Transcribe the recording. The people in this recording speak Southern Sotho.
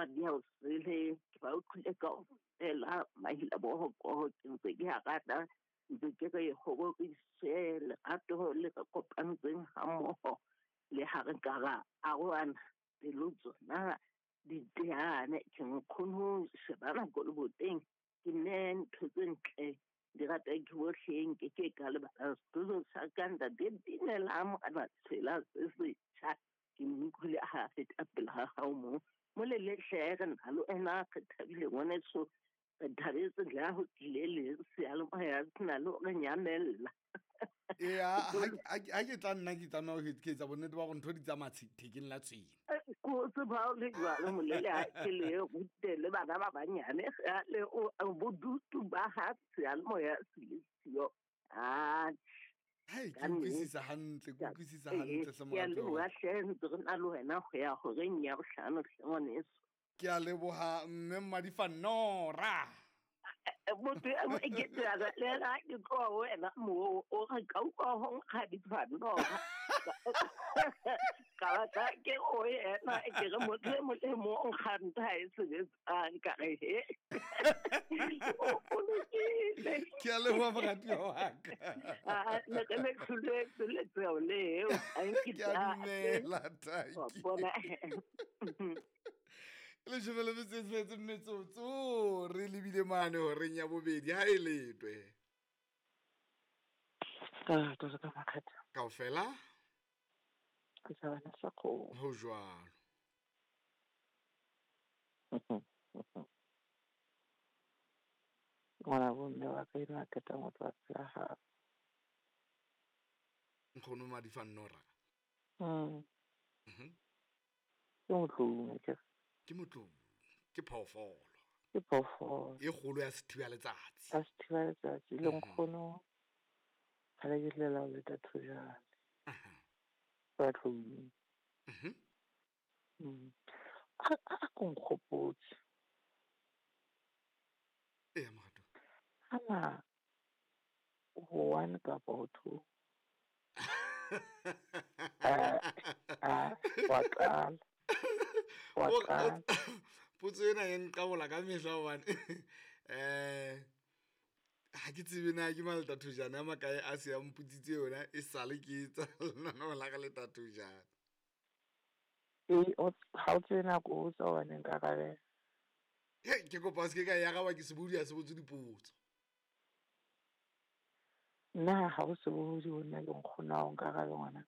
Madiaosele ke ba utlwile kaofela mahila bohokoho ke ntse ke a rata ntse ke re ho roriswe lerato le re kopantseng hammoho le ha re ka ra arohana pelo tsona di teane ke nkgono shebana ko leboteng ke nne ntho tse ntle di rata ke bohle nke ke ka lebala setulo sa ka ntate Dinela Morena Tshela se setjha ke mmutlwile ha feta pele ga gago mo mo le letlhe re na le wena re thabile ngwaneso re thabetse le ha go tlile le seyalemoya se na le re nyamella. Ea ha ke tla nna ke tlameha ho ke etsa bonnete ba gore ntho di tsamaya thekeng la tshwene. Ko tseba o le jwalo molele ha ke le rute le bana ba banyane le bodutu ba ha seyalemoya se le siyo. Hai, ke utlwisisa hantle, ke utlwisisa hantle hle Ke a moratuwa wa leboha hle ntse re na le wena ho ya horeng ya bohlano hle ngwaneso. Ke a leboha mme Mmadifannora. Motho e ke tsela le ena ke tloha ho wena moo o re ka utlwa ho nkga difannora. Ka ba ka ke o yena ke re motho e mong le mong o nkga ntho ha e sebetsang ka re he. O lokile. Ke a leboha moratuwa wa ka. Ne re le hloletswe letshwao leo. Ke a dumela, tanki. Bona. Leshome le metso e tsheletseng metsotso re lebile mane horeng ya bobedi ha e letwe. Ka ka ka makgetha. Kaofela? Ke sa bana sa kgomo. Ho jwalo. Ngwana bo mme wa ka enwa a qetang ho tloha pela hao. Nkgono Madifannora. Ke motloung akere? Ke motloung, ke phoofolo. Ke phoofolo. E kgolo ya sethiba letsatsi. Ya sethiba letsatsi le nkgono kgale ke llela ho leta thojane. Ba tloung. A ko nkgopotse. Eya morato. Ana ho one kapa ho two. Wa qala. Wa qala. Potso ena e nqabola ka mehla hobane ha ke tsebe na ke maleta thojane a makae a se a mpotsitse yona e sale ke etsa lenaneo la ka le tathojane. Ee, ha o tsebe nako o botsa hobane nka arabela. He, ke kopa o se ke ka e araba ke sebodi ha se botse dipotso. Nna ha o sebohodi ho nna ke nkgono wa hao nka arabe ngwana.